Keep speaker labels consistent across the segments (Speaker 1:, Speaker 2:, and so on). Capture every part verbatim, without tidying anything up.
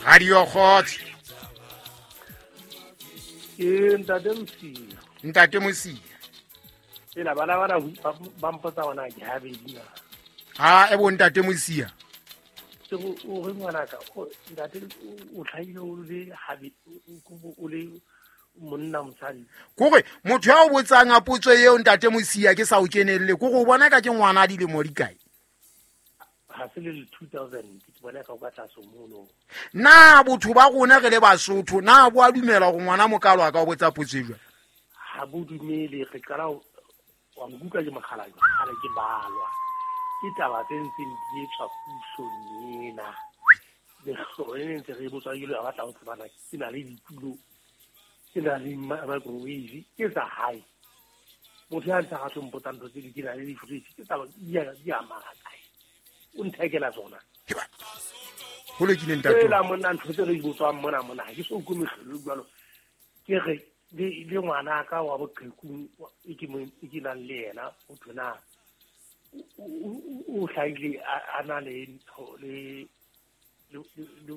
Speaker 1: Radio Kgotso.
Speaker 2: Ke ntate Mosia.
Speaker 1: Ntate Mosia.
Speaker 2: Ela bana bana ba mpotsa ona ke habedi na.
Speaker 1: Ha e bo ntate Mosia.
Speaker 2: Ke o re ngwana ka ntate o tlhaile o le habedi o le monna mosadi.
Speaker 1: Kore motho ya o botsang a potso eo ntate Mosia ke sa o kenelle kore o bona ka ke ngwana a dilemo di kae?
Speaker 2: Ha se le two thousand ke bona ka o ka tlase mono.
Speaker 1: Na botho ba rona re le Basotho na bo a dumela gore ngwana mokalo a ka o botsa potso e jwang?
Speaker 2: Ha bo dumele re qala wa nkuka ke mogala gale ke balwa. Ke taba tse ntseng di etswa pusong ena. Le hlone ntse re botswa ke le ba batla ho tsebana ke na le ditulo. Ke na le microwave ke tsa hae. Motho ya ntse a tlo mpotsa ntho tse di ke na le di-fridge ke taba di a di a maka. O nthekela tsona.
Speaker 1: Ho lokile ntate.
Speaker 2: Ela monna ntho tse re di botswang mona mona ha ke so utlwe mehlolo jwalo. Ke re le le ngwana ka wa boqhekung e ke mo e ke nang le yena o thona o hlaile a na le ntho le le le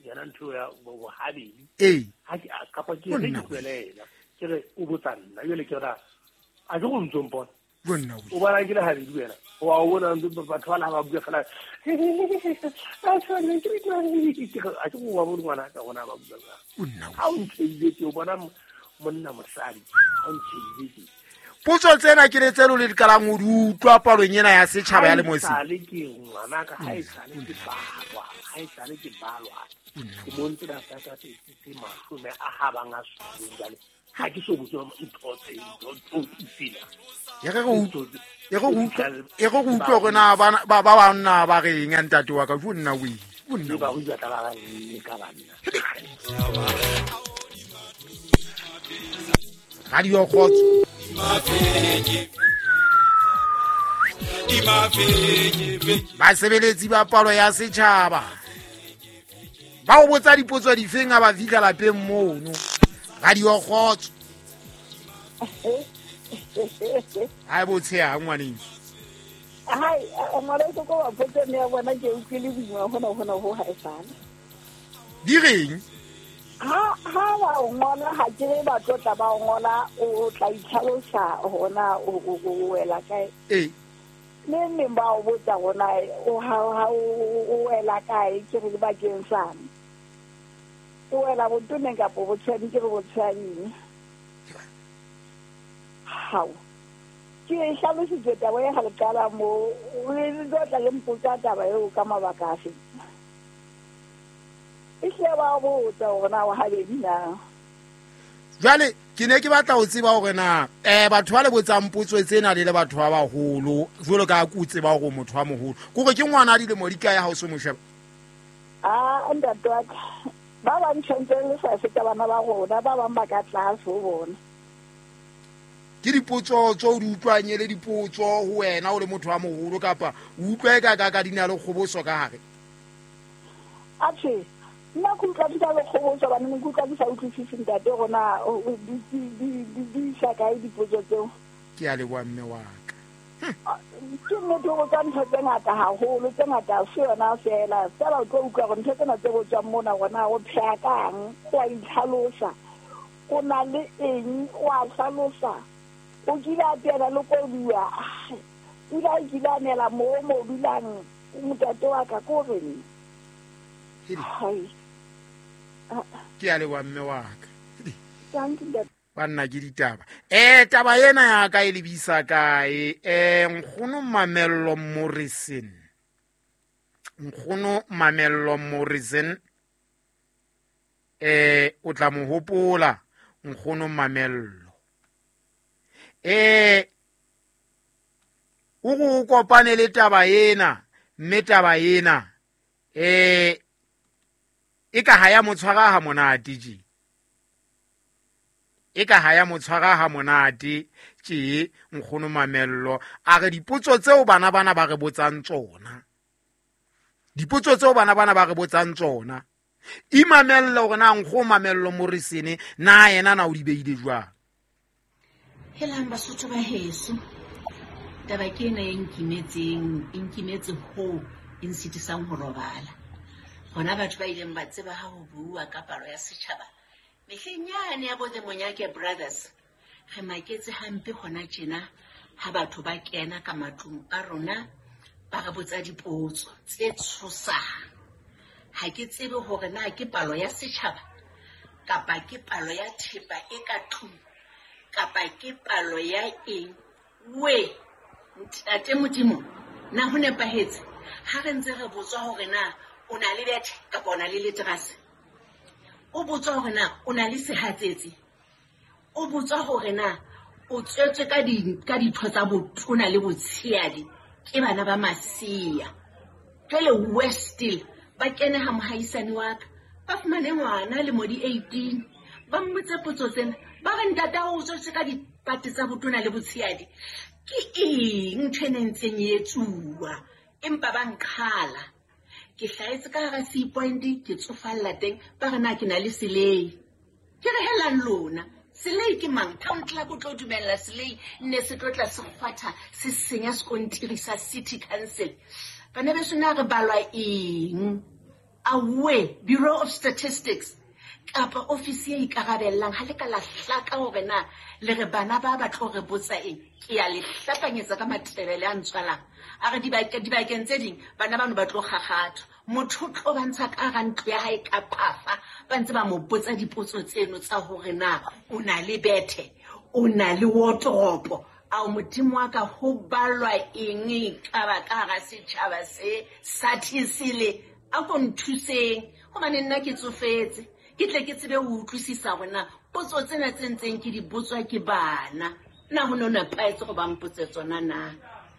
Speaker 2: yena ntho ya bohabedi.
Speaker 1: Ee.
Speaker 2: Ha ke kapa ke re ke tswela ke re o botsa nna jwale ke ra a ke go ntso mpona.
Speaker 1: Bonna
Speaker 2: o bona ke le habedi wena o a bona batho ba la ba bua fela a tshwane ke ke ke a ke go wa bona ngwana ka bona ba bua
Speaker 1: bonna
Speaker 2: ha o ntshedile ke o bona monna mosadi ha o ntshedile ke
Speaker 1: potso tsena ke le tselo le dikalang o di utlwa palong ena ya setjhaba ya Lemosi.
Speaker 2: Ha le ke ngwana ka ha e sale ke balwa ha e sale ke balwa ke mo ntse da sa ka tse tse mashome a habang a supileng jwale ha ke so botse ntho tse ntho tse
Speaker 1: e re go e go e go utlwa gore na ba ba ba nna ba reng ya ntate wa ka jo nna o e
Speaker 2: nna ba go tla ba le ka banna.
Speaker 1: Radio Kgotso. Basebeletsi ba palo ya setjhaba ba o botsa dipotso difeng ha ba fihla lapeng mono. Radio Kgotso. Ha bo tsheha ngwaneng.
Speaker 3: Hai ngwana ko ko potso ne ya bona ke utlwile boima hona hona ho ha e sana.
Speaker 1: Di reng?
Speaker 3: Ha ha ba o ngola ha ke re ba tlotla ba o ngola o tla itlhalosa hona o o wela kae.
Speaker 1: Ee.
Speaker 3: Le neng ba o botsa hona o ha ha o wela kae ke re bakeng sang. O wela botoneng kapa botshadi ke re botshading. Hao. Ke hlalositse taba e ha le qala mo o le tla le mpotsa taba eo ka mabaka afe. E hle ba botsa hore na wa habedi na.
Speaker 1: Jwale ke ne ke batla ho tseba hore na eh batho ba le botsang potso tsena le le batho ba baholo jwalo ka ku tseba hore motho wa moholo kore ke ngwana a dilemo di kae ha o se mo sheba?
Speaker 3: Ah ntate wa ka ba ba ntshentse le sa feta bana ba rona ba bang ba ka tlase ho bona.
Speaker 1: Ke dipotso tse o di utlwang ele dipotso ho wena o le motho wa moholo kapa o utlwa e ka ka ka dina le kgoboso ka hare?
Speaker 3: Atjhe nna ke utlwa di le kgoboso bana ke utlwa ke sa utlwisise ntate rona di di di di sa kae dipotso tseo.
Speaker 1: Ke a leboha mme wa ka.
Speaker 3: Ke nnete ho botsa ntho tse ngata haholo tse ngata se yona fela fela o tlo utlwa hore ntho tsena tse botswang mona rona o pheha kang o a itlhalosa o na le eng o a hlalosa o kile a teana le koduwa pula e kile a nela mo mo dulang motate wa ka ko reng.
Speaker 1: Ke a leboha mme wa ka. Banna ke ditaba. Eh taba ena ya ka e lebisa kae? Eh nkgono Mamello Morrison. Nkgono Mamello Morrison eh o tla mo hopola nkgono Mamello. Eh o go kopane le taba ena mme taba ena eh e ka ha ya motshwara ha monate je. E ka ha ya motshwara ha monate tje nkgono Mamello a re dipotso tseo bana bana ba re botsang tsona. Dipotso tseo bana bana ba re botsang tsona. Imamello hore na nkgono Mamello Morrison na yena na o di beile jwang.
Speaker 4: Helang Basotho ba heso. Taba ke ena e nkimetseng, e nkimetse ho e nsitisang ho robala. Rona batho ba ileng ba tseba ha ho bua ka palo ya setjhaba mehleng yane ya bo the Monyake Brothers, re maketse hampe hona tjena ha batho ba kena ka matlung a rona ba re botsa dipotso tse tshosang. Ha ke tsebe hore na ke palo ya setjhaba kapa ke palo ya thepa e ka tlung kapa ke palo ya eng. We ntate Modimo, na ho nepahetse ha re ntse re botswa hore na o na le bethe kapa o na le leterase, o botswa hore na o na le sehatsetsi, o botswa hore na o tswetswe ka di ka ditho tsa botona le botshehadi ke bana ba masea. Jwale worse still, ba kene ha mohaisane wa ka, ba fumane ngwana lemo di eighteen, ba mmotse potso tsena, ba re ntate o tswetswe ka dipate tsa botona le botshehadi. Ke eng ntho e ne ntseng e etsuwa? Empa ba nqhala. Ke hlahetse ka hara Sea Point, ke tsofalla teng, ba re na ke na le selei. Ke re helang lona, selei ke mang? Town clerk o tlo dumella selei nne se tlo tla se kgwatha se senya sekontiri sa city council. Bana beso, na re balwa eng? Awe, Bureau of Statistics kapa ofisi e ikarabellang ha le ka la hlaka hore na le re bana ba ba tlo re botsa eng. Ke a le hlapanyetsa ka matebele a ntswalang. A re dibakeng tse ding bana bano ba tlo kgakgathwa, motho o tlo ba ntsha ka hara ntlo ya hae ka phafa, ba ntse ba mo botsa dipotso tseno tsa hore na o na le bethe, o na le wardrobe. Ao Modimo wa ka, ho balwa eng ka ba ka hara setjhaba se sa thisile? A ko nthuseng hobane nna ke tsofetse, ke tle ke tsebe ho utlwisisa hore na potso tsena tse ntseng ke di botswa ke bana na ho no nepahetse go ba mpotse tsona na.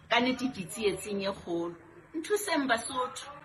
Speaker 4: Ka nnete ke tsietsing e kgolo. Nthuseng Basotho.